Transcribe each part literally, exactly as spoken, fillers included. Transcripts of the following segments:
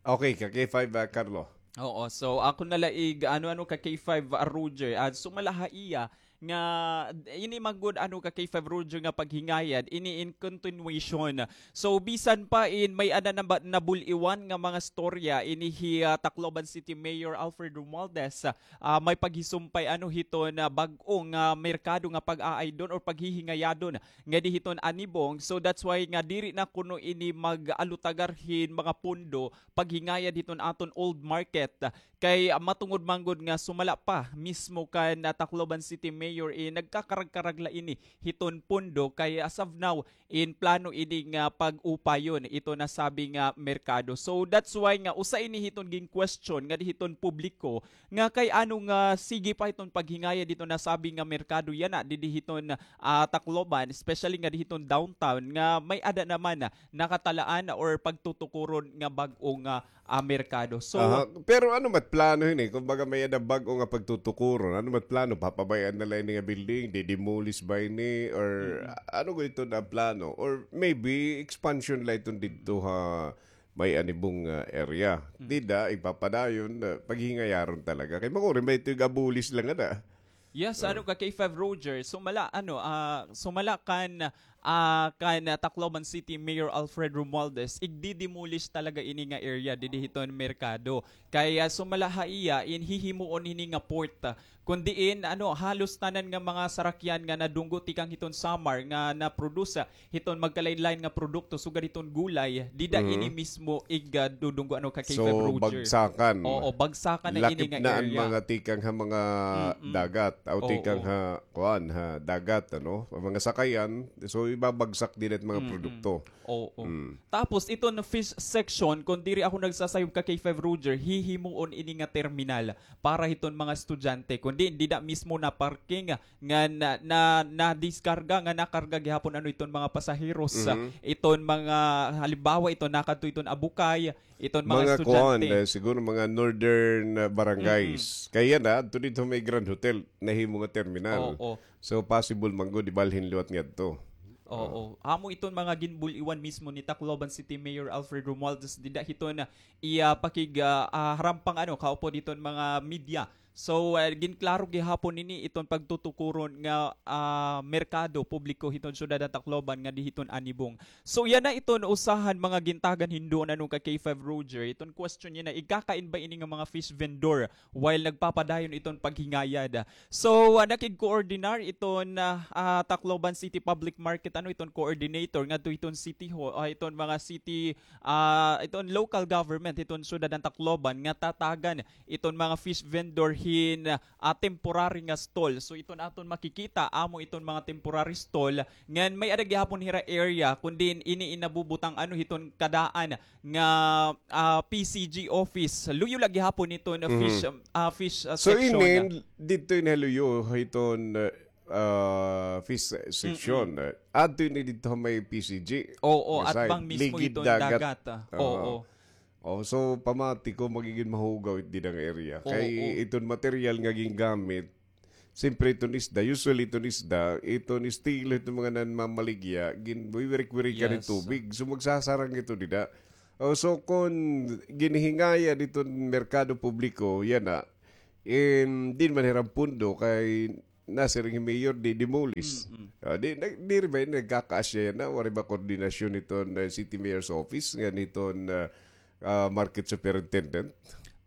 Okay, ka K five, ah, Carlo. Oo, so ako na la ig-, ano-ano ka K five, ah, Roger. Ah, sumala ha iya nga ini man gud, ano, ka K five Roger nga paghingayad, ini in continuation. So, bisan pa in may-ada na ba, nabul-iwan nga mga storya, ini hi, ah, Tacloban City Mayor Alfred Romualdez, ah, may paghisumpay, ano, hiton, ah, bag-o nga merkado nga pag-aaydon or paghihingayadon ngadi hiton Anibong. So, that's why nga diri na kuno ini mag-alutagar hin mga pondo paghingayad hiton aton old market. Kay, ah, matungod man gud nga sumala pa mismo kan, ah, Tacloban City Mayor, eh, nagkakarag-karag la ini hiton pondo. Kay as of now, in plano ini nga pag-upayon ito nasabi nga merkado. So that's why nga usa ini hiton gin-question ngadi hiton publiko nga kay ano nga sige pa hiton paghingayad hiton nasabi nga merkado yana didi hiton, ah, Tacloban, especially ngadi hiton downtown nga may-ada naman na nakatalaan or pagtutukuron nga bag-o nga ah, merkado. So, aha, pero ano mat plano hini? Kumbaga, may-ada bag-o nga pagtutukuron. Ano mat plano? Papabay-an na la ini nga building? Di-demolish ba ini? Or, mm-mm, ano gud iton plano? Or maybe expansion la iton didto ha may Anibong, ah, area. Mm. Dida, ipapadayon, ah, paghingayaron talaga. Kay makuri, may ito yung abulis lang, ana. Yes, ah, ano ka, K five Roger? Sumala, ano, ah, sumala kan ah, kan, ah, Tacloban City Mayor Alfred Romualdez, igdi-demolish talaga ini nga area didi hiton merkado. Kay, ah, sumala ha iya, in hihimuon hini nga port, ah, kun diin, ano, halos tanan nga mga sarakyan nga nadunggo tikang hiton Samar nga na-produce, ah, hiton magkalain-lain nga produkto, sugad hiton gulay, dida, mhm, ini mismo ig, ah, dudunggo, ano, ka K five Roger. So, bagsakan. Oo, bagsakan na ini nga area. Lakip na an mga tikang ha mga, mm-mm, dagat, aw, oo, tikang ha kuan, ha dagat, ano, mga sakayan, so ibabagsak dida it mga, mm-mm, produkto. Oo. Mm. Tapos iton fish section, kun diri ako nagsasayop ka K five Roger, hihimuon ini nga terminal para hiton mga estudyante. Kundi dida mismo na parking nga na, na, nadiskarga, nga nakarga gihapon ano iton mga pasaheros, mhm, iton mga halimbawa iton nakadto iton Abukay, iton mga estudyante. Mga kuan, eh, siguro mga northern, ah, barangays. Mm-mm. Kay yana, adto didto may Grand Hotel, nahimo nga terminal. Oo. So, possible man gud, ibalhin liwat ngadto. Oo. Ah. Amo iton mga ginbul-iwan mismo ni Tacloban City Mayor Alfred Romualdez dida hiton iya pakig, ah, ah, harampang ano, kaupod hiton mga media. So, ah, ginklaro gihapon ini iton pagtutukuron nga, ah, merkado publiko hiton syudad han Tacloban ngadi hiton Anibong. So, yana iton usa han mga gintagan hinduon ano ka K five Roger. Iton question niya na, igkakain ba ini nga mga fish vendor while nagpapadayon iton paghingayad? So, ah, nakig-coordinar iton, ah, ah, Tacloban City Public Market, ano, iton coordinator ngadto hiton city hall, ah, iton mga city, ah, iton local government hiton syudad han Tacloban nga tatagan iton mga fish vendor hin, ah, temporary nga stall. So, iton aton makikita, amo iton mga temporary stall ngan may-ada gihapon hira area kun diin ini in nabubutang ano hiton kadaan nga, ah, P C G office. Luyo la gihapon iton, mhm, fish, ah, fish, ah, section. So, ini, didto ini luyo hiton, ah, fish section. Mm-mm. Adto ini didto may P C G. Oo, nga side. Atbang mismo hiton dagat. Ligid dagat, ah. Oo. Oo. Oh, so, pamati ko, magigin mahugaw it dida nga area. Oo. Kay iton material nga gingamit, siyempre, iton isda, usually iton isda, iton estilo iton mga nanmamaligya, ginwiwirik-wirikan hin tubig. Yes. So, magsasarang ito dida. Oh, so, kon ginhingaya diton merkado publiko, yana, in, diin man hiram pondo, kay nasiring hi Mayor, di-demolish. Mm-mm. Ah, di, na, diri ba ini nagkakaasya yana, waray ba koordinasyon hiton, ah, City Mayor's Office, ngan hiton, ah, ah, Market Superintendent?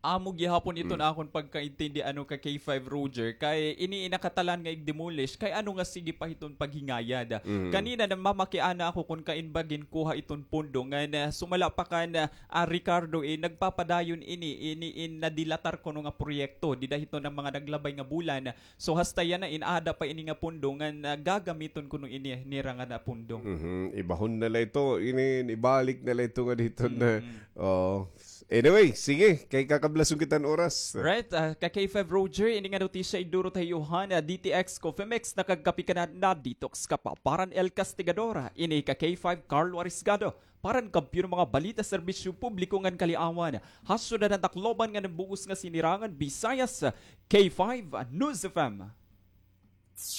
Amo gihapon iton akon pagkaintindi, ano ka K five Roger, kay ini in nakatalan nga ig-demolish, kay ano nga sige pa hiton paghingayad. Mm. Kanina namamakiana ako kon kain ba ginkuha iton pondo, ngan, ah, sumala pa kan, ah, Ricardo, eh, nagpapadayon ini, ini in nadilatar kuno nga proyekto, dida hiton mga naglabay nga bulan, So, hasta yana, in aada pa ini nga pondo ngan, ah, gagamiton kuno ini nira nga na pondo. Mhm. Ibahon na la ito, ini, ibalik na la ito ngadi hiton, mm, oh. Anyway, sige, kay kakablason kita han oras. Right, ah, ka K five Roger, ini nga notisya idurot ha iyo han, ah, D T X Coffee Mix, nakagkape ka na, na-detox ka pa. Para han El Castigador, ini ka K five Carlo Arisgado. Para han kampiyon nga mga balita, serbisyo publiko ngan kaliawan ha syudad han Tacloban ngan han bug-os nga sinirangan Visayas, K five News F M.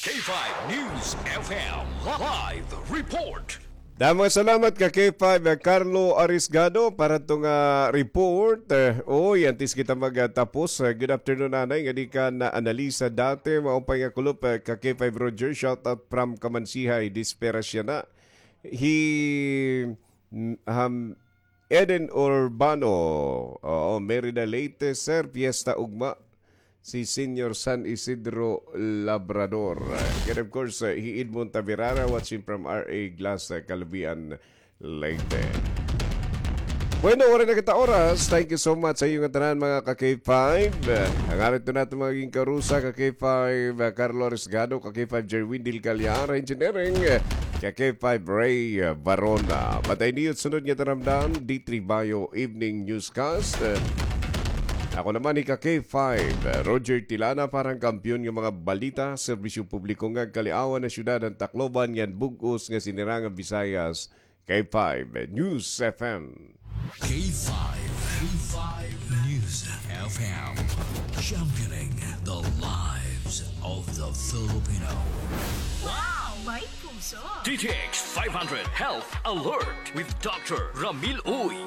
K five News F M live report. Damo nga salamat ka K five, ah, Carlo Arisgado, para to nga report. Eh, oy, antes kita magtapos, eh, good afternoon, anay, nga di ka na Analisa dati, maupay nga kulop, eh, ka K five Roger, shout out from Kamansihay, Desperasya na. Hi, mm, ham, Eden Urbano, oo, Merida Leyte, sir, fiesta ugma. Si Senior San Isidro Labrador. And of course, uh, hi Edmond Tavirara watching from R A Glass, uh, Calubian, Leyte. Bueno, waray na kita oras. Thank you so much sa iyo nga tanan, mga ka K five. Uh, ang arit na natin magiging karusa, ka K five, uh, Carlo Arisgado, ka K five, Jerwin Del Callar, engineering, uh, ka K five, Ray, uh, Barona. Patay niyo sunod nga taramdam, D three Bio Evening Newscast. Uh, Ako naman hi ka K five, Roger Tilana, para han kampiyon nga mga balita, serbisyo publiko nga kaliawan han syudad han Tacloban ngan bug-os nga sinirangan Visayas, K five News F M. K five, K five News F M, championing the lives of the Filipino. Wow! May puso! D T X five hundred Health Alert with Doctor Ramil Uy.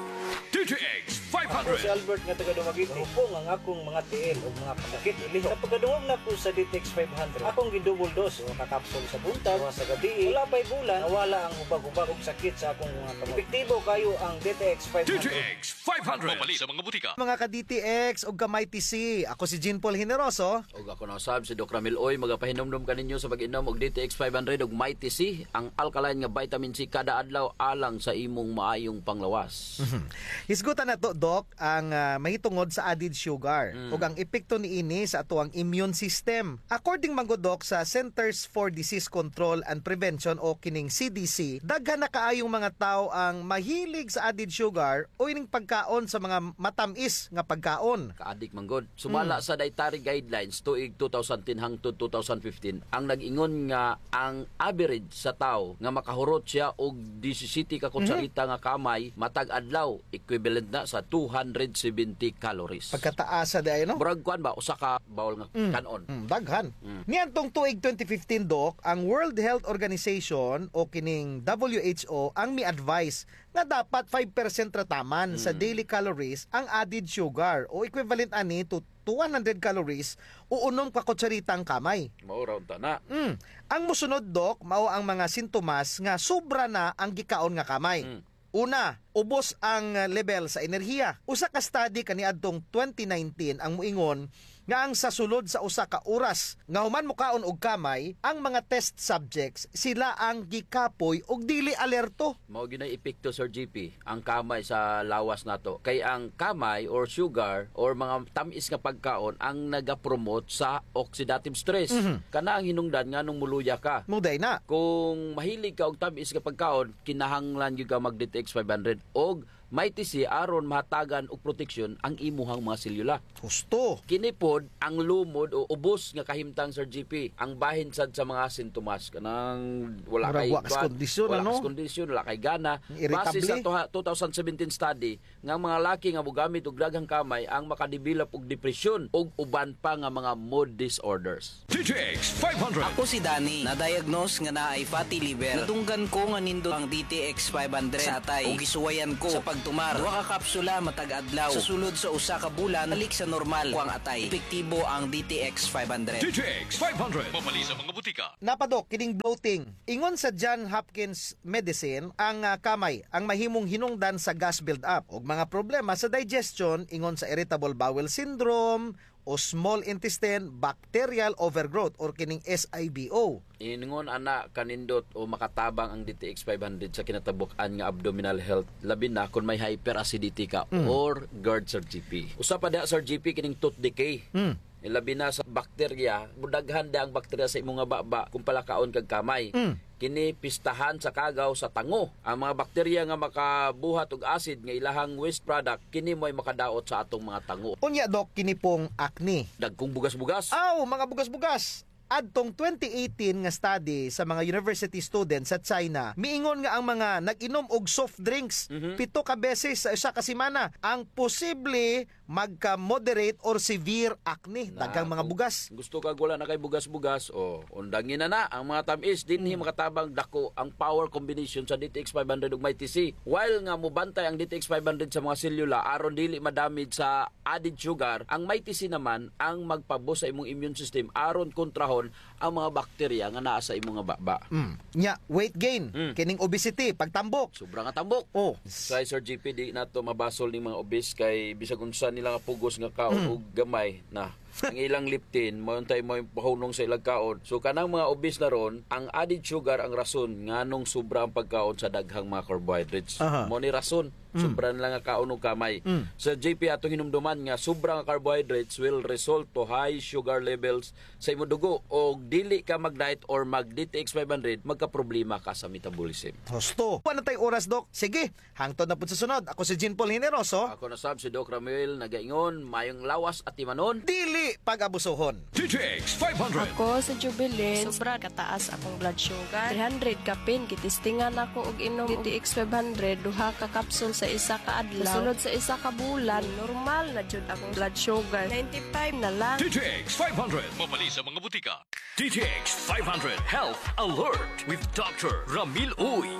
D T X Ako si Albert nga taga Dumaguete. Hupong ang akong mga tiil ug mga kasakit. Ilihok. Sa pagkadungog nako sa D T X five hundred, akong gi-double dose, usa ka kapsul sa buntag, usa sa gabii. Wala pa'y bulan, nawala ang hubag-hubag ug sakit sa akong mga kamot. Epektibo kayo ang D T X five hundred. D T X five hundred. Mapalit sa mga butika. Mga ka-D T X ug ka-Mighty C, ako si Jean Paul Generoso. Ug ako na usab si Doc Ramil Uy, magapahinumdom kaninyo sa pag-inom og D T X five hundred ug Mighty C, ang alkaline nga vitamin C kada adlaw alang sa imong maayong panglawas. Mhm. Hisgutan nato, Doc, ang, ah, mahitungod sa added sugar Mm. ug ang epekto niini sa atoang immune system. According man gud, Doc, sa Centers for Disease Control and Prevention o kining C D C, daghan na kaayong mga tawo ang mahilig sa added sugar o ining pagkaon sa mga matam-is nga pagkaon. Kaadik man gud. Sumala Mm. sa dietary guidelines tuig two thousand ten hangtod two thousand fifteen, ang nag-ingon nga ang average sa tawo nga makahurot siya og disisiyete ka Mhm. kutsarita nga kamay matag adlaw, equivalent na sa two hundred seventy calories. Pagkataasa diay, no? Murag kuan ba, usa ka bowl nga Mm. kan-on. Mm, daghan. Mm. Niadtong tuig twenty fifteen, Doc, ang World Health Organization o kining W H O ang mi-advise nga dapat five percent ra taman sa Mm. daily calories ang added sugar o equivalent ani to, to one hundred calories o unom ka kutsarita han kamay. Mao ra unta na. Mm. Ang mosunod, Doc, mao ang mga sintomas nga sobra na ang gikaon nga kamay. Mm. Una, ubos ang level sa enerhiya. Usa ka study kaniadtong twenty nineteen ang moingon nga ang sa sulod sa usa ka oras nga human mokaon og kamay, ang mga test subjects, sila ang gikapoy ug dili alerto. Mao gyud nay epekto, Sir G P, ang kamay sa lawas nato. Kay ang kamay or sugar or mga tam-is nga pagkaon ang nagapromote sa oxidative stress. Mhm. Kana ang hinungdan nganong moluya ka. Mao diay na. Kung mahilig ka og tam-is nga pagkaon, kinahanglan gyud ka mag D T X five hundred og Mighty C aron mahatagan og proteksyon ang imuhang mga selyula. Husto. Kini pod ang lumod o ubos nga kahimtang, Sir G P, ang bahin sad sa mga sintomas. Kanang wala Murag kay wa ka sa kuan, kondisyon, wala ano? ka sa kondisyon, wala kay gana. Irritable. Base sa tuha-, two thousand seventeen study, nga ang mga laki nga mogamit og daghang kamay ang makadevelop og depresyon ug uban pa nga mga mood disorders. D T X five hundred. Ako si Danny, na-diagnose nga naay fatty liver. Nadunggan ko nga nindot ang D T X five hundred sa atay ug gisuwayan ko sa pagtumar. Duha ka kapsula matag adlaw sa sulod sa usa ka bulan, balik sa normal ko ang atay. Epektibo ang D T X five hundred. D T X five hundred. Mapalit sa mga butika. Napa, Doc, kining bloating. Ingon sa John Hopkins Medicine, ang, ah, kamay ang mahimong hinungdan sa gas build-up ug mga problema sa digestion, ingon sa irritable bowel syndrome o small intestine bacterial overgrowth or kining S I B O. Ingon ana kanindot o makatabang ang D T X five hundred sa kinatabuk-an nga abdominal health, labi na kon may hyperacidity ka Mm. or GERD, Sir G P. Usa pa diha, Sir G P, kining tooth decay. Mm. Labi na sa bakterya, mudaghan da ang bakterya sa imo nga baba kung palakaon kag kamay. Mm. Kini pistahan sa kagaw sa tango. Ang mga bakterya nga makabuhat og acid nga ilahang waste product, kini mo'y makadaot sa atong mga tango. Unya, Doc, kini pong acne. Dagkong bugas-bugas. Aw, mga bugas-bugas. adtong twenty eighteen nga study sa mga university students sa China, miingon nga ang mga nag-inom og soft drinks Mhm. pito ka beses sa usa ka semana ang posible magka-moderate or severe acne. Na, daghang mga kung bugas. Gusto kag wala na kay bugas-bugas, o, undangi na na ang mga tam-is, dinhi Hmm. makatabang dako ang power combination sa D T X five hundred ug Mighty C. While nga mobantay ang D T X five hundred sa mga selula aron dili madamage sa added sugar, ang Mighty C naman ang magpabus sa imong immune system aron kontrahon ang mga bakterya nga naa sa imong nga baba. Mm. Nya, weight gain, Mm. kining obesity, pagtambok. Sobra nga tambok. Oh. Kay Sir G P, di nato mabasol ning mga obese kay bisag unsa nila nga pugos nga kaon Mm. og gamay na. Ang ilang leptin, mao untay mao pahunong sa ilang kaon. So, kanang mga obese na ron, ang added sugar ang rason nganong sobra ang pagkaon sa daghang mga carbohydrates. Aha. Mao ni rason, Mm. sobra nila nga kaon og gamay. Mm. Sir G P, atong hinumduman nga sobra nga carbohydrates will result to high sugar levels sa imong dugo, og dili ka mag-diet or mag D T X five hundred, magkaproblema ka sa metabolism. Husto. Wala na tay oras, Doc. Sige, hangtod na pud sa sunod. Ako si Jean Paul Generoso. Ako na sab si Doc Ramuel, nagaingon, mayong lawas atimanon. Dili pag-abusohon. D T X five hundred. Ako si Jubilin. Sobra kataas akong blood sugar. Three hundred kapin, gitistingan ako og inom D T X five hundred, duha ka kapsul sa isa ka adlaw. Sa sunod sa isa ka bulan, normal na jud akong blood sugar. Ninety-five na lang. D T X five hundred. Mabali sa mga butika. D T X five hundred Health Alert with Doctor Ramil Uy.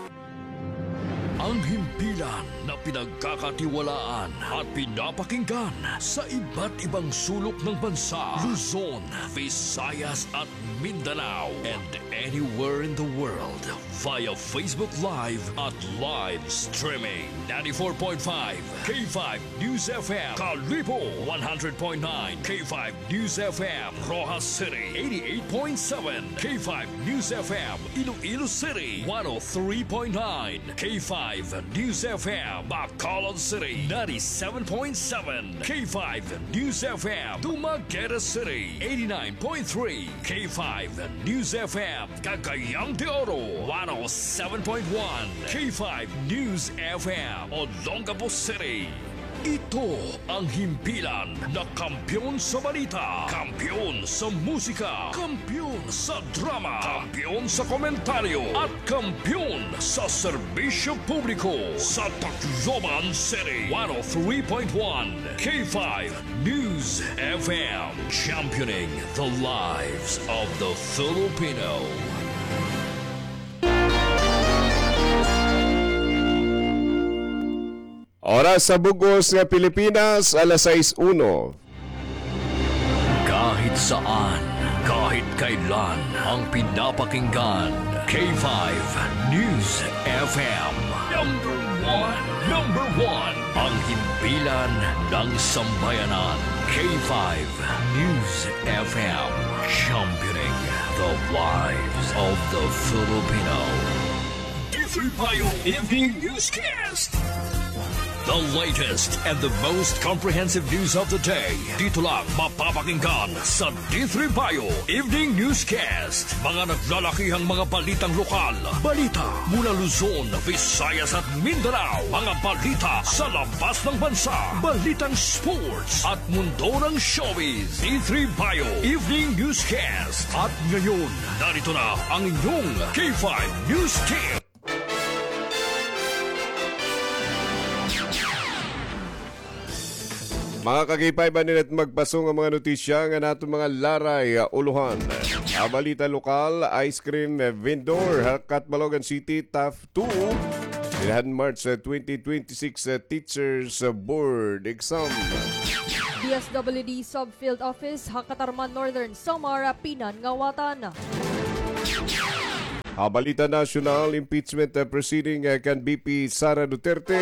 Ang himpilan na pinagkakatiwalaan at pinapakinggan sa iba't ibang sulok ng bansa, Luzon, Visayas at Mindanao, and anywhere in the world via Facebook Live at live streaming. Ninety-four point five K five News F M, Kalibo, one hundred point nine K five News F M, Roxas City, eighty-eight point seven K five News F M, Iloilo City, one oh three point nine K five News F M, Bacolod City, ninety-seven point seven K five News F M, Dumaguete City, eighty-nine point three K five News F M, Cagayan de Oro, one oh seven point one K five News F M, Olongapo City. Ito ang himpilan na kampiyon sa balita, kampiyon sa musika, kampiyon sa drama, kampiyon sa komentaryo, at kampiyon sa serbisyo publiko sa Tacloban City. One oh three point one K five News F M, championing the lives of the Filipino. Oras sa bug-os nga Pilipinas, alas sais uno. Kahit saan, kahit kailan, ang pinapakinggan, K five News F M. Number one, number one, ang himpilan ng sambayanan, K five News F M, championing the lives of the Filipino. D three Bio Evening Newscast. The latest and the most comprehensive news of the day. Dito lang mapapakinggan sa D three Bio Evening Newscast. Mga naglalakihang mga balitang lokal. Balita mula Luzon, Visayas at Mindanao. Mga balita sa labas ng bansa. Balitang sports at mundo ng showbiz. D three Bio Evening Newscast. At ngayon, narito na ang inyong K five News Team. Mga ka-K five, ania na it magpasong nga mga notisya nga naton mga laray, ah, ulohan. Ah, balita lokal, ice cream, eh, vendor ha Catbalogan City, tough two. Dinhan March, ah, twenty twenty-six, ah, Teachers, ah, Board Exam. D S W D Subfield Office ha Catarman, Northern Samar, pinangawatan. Ha balita nasyonal, impeachment, ah, proceeding, ah, kan V P Sara Duterte.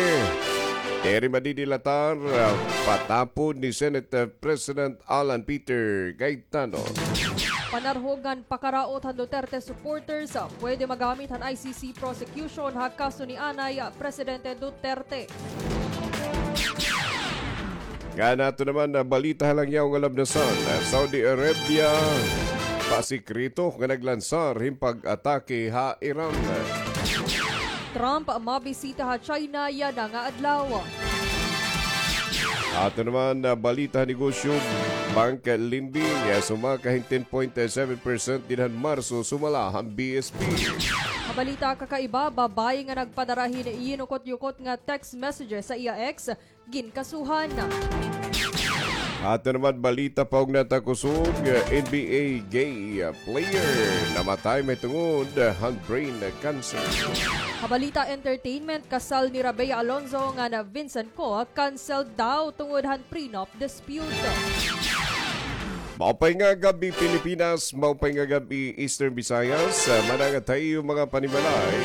Diri madidilatar, ah, patapod ni Senate, ah, President Alan Peter Cayetano. Panarhog ngan pakaraot han Duterte supporters, ah, pwede magamit han I C C prosecution ha kaso ni anay, ah, Presidente Duterte. Ngan ato naman nga balita ha langyaw nga labnasan, Saudi Arabia, pasikreto nga naglansar hin pag-atake ha Iran. Trump mabisita ha China yana nga adlaw. Aton naman, ah, balita han negosyo, bank lending, ah, sumaka hin ten point seven percent dinhan Marso, sumala han B S P. Ha balita kakaiba, babaye nga nagpadara hin yinukot-yukot nga text messages sa iya ex, ginkasuhan. Aton naman balita paugna han kusog, N B A gay player namatay mahitungod han brain cancer. Ha balita entertainment, kasal nira Bea Alonzo ngan Vincent Cook cancelled daw tungod han prenup dispute. Maupay nga gab-i, Pilipinas. Maupay nga gab-i, Eastern Visayas. Ah, manangat ha iyo mga panimalay.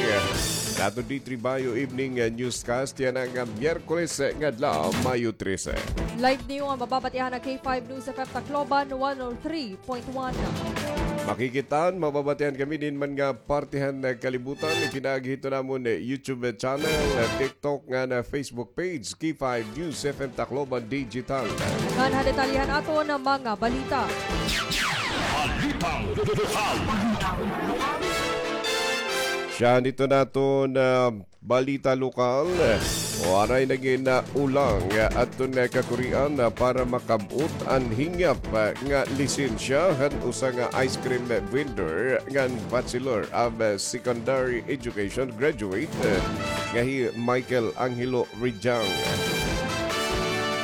Dato D three Bayo Evening, ah, Newscast. Yana nga Miyerkules, ah, nga adlaw, Mayo trese. Live niyo nga mababatian ha K five News F M Tacloban, one oh three point one. Makikit-an, mababatian kami dinhi man nga parte han, ah, kalibutan. Ipinaagi hito namon, eh, YouTube channel, ah, TikTok ngan Facebook page, K five News F M Tacloban Digital. Ngan ha detalye han aton mga balita. Balitang lokal. Siya dito naton, ah, balita lokal. Waray na gin, ah, ulang, ah, aton, ah, kakurian, ah, para makab-ot an hingyap, ah, nga lisensya han usa nga ice cream vendor ngan Bachelor of, ah, Secondary Education graduate, eh, nga hi Michael Angelo Rijang.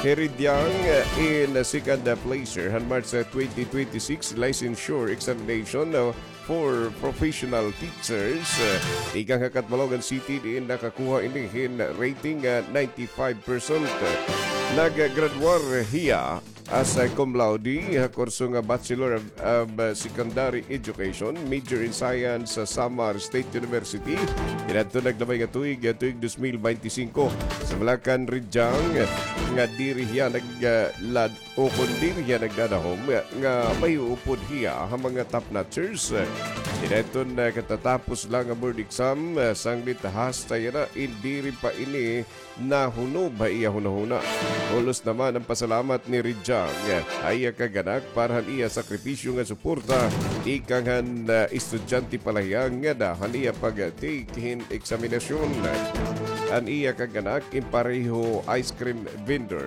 Hi Rijang, eh, in second, eh, place han March, eh, twenty twenty-six licensure examination, eh, for professional teachers, eh, tikang ha Catbalogan City, diin nakakuha ini hin rating, eh, ninety-five percent. Naggraduar hiya as a cum laude ha kurso nga Bachelor of, of, uh, Secondary Education, major in Science sa Samar State University. Kaniadto naglabay nga tuig, uh, tuig dos mil bente singko. Sumala kan Rijang, uh, nga diri hiya nag, uh, lad-, o kon diri hiya nagdadahom, uh, nga mahiupod hiya ha mga top notchers. Uh, kaniadto nakatatapos la nga board exam, uh, sanglit hasta yana, in diri pa ini nahunob ha iya hunahuna. Bulos naman an pasalamat ni Rijang ha iya kag-anak para han iya sakripisyo nga suporta tikang han, ah, estudyante pa la hiya ngada han iya pag-take hin eksaminasyon. An iya kag-anak in pareho ice cream vendor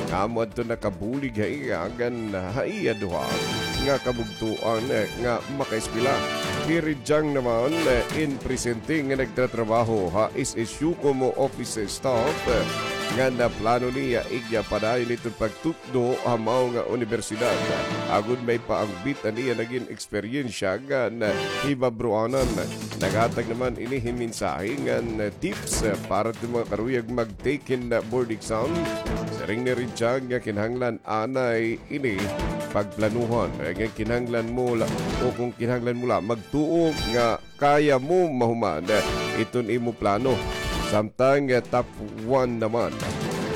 nga amo adto nakabulig ha iya ngan ha iya duha nga kabugtoan nga makaeskwela. Hi Rijang naman, eh, in presente nga nagtratrabaho ha S S U komo office staff, eh, nga naplano niya igya padayon iton pagtutdo ha mao nga unibersidad. Agod maipaangbit an iya nagin eksperyensya ngan hibabroanan. Naghatag naman ini hin mensahe ngan tips para hit mga karuyag mag-take hin board exam. Siring ni Rijang nga kinahanglan anay ini pagplanuhan. Kay kinahanglan mo la, o kon kinahanglan mo la, magtuo nga kaya mo mahuman iton imo plano. Samtang, eh, top one naman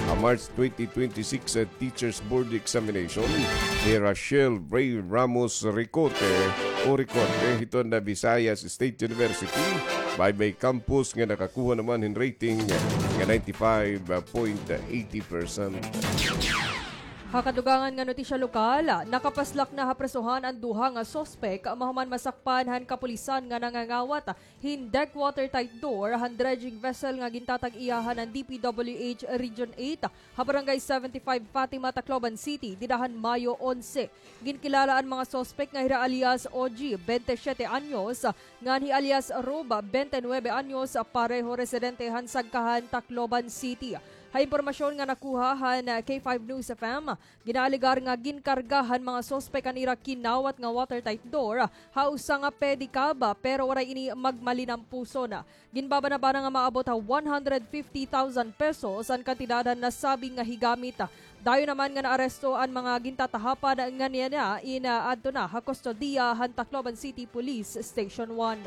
ha March twenty twenty-six, eh, Teachers Board Examination, hi Rachel Ray Ramos Ricote o Ricote hiton Visayas State University, Baybay Campus, nga nakakuha naman hin rating nga ninety-five point eighty percent. Ha kadugangan nga notisya lokal, nakapaslak na ha prisohan an duha nga suspek mahuman masakpan han kapulisan nga nangangawat hin deck watertight door han dredging vessel nga gintatag-iyahan han D P W H Region eight ha Barangay seventy-five Fatima, Tacloban City, dida han Mayo onse. Ginkilala an mga suspek nga hira alias O G, bente siyete anyos, ngan hi alias Rob, bente nuwebe anyos, pareho residente han Sagkahan, Tacloban City. Ha impormasyon nga nakuha han K five News F M, ginaalegar nga ginkarga han mga suspek an ira kinawat nga watertight door ha usa nga pedicab, pero waray ini magmalinampuson. Ginbabanabana nga maabot ha one hundred fifty thousand pesos an kantidad han nasabi nga higamit. Dayon naman nga naaresto an mga gintatahapan ngan yana in, ah, adto na ha kustodiya han Tacloban City Police Station one.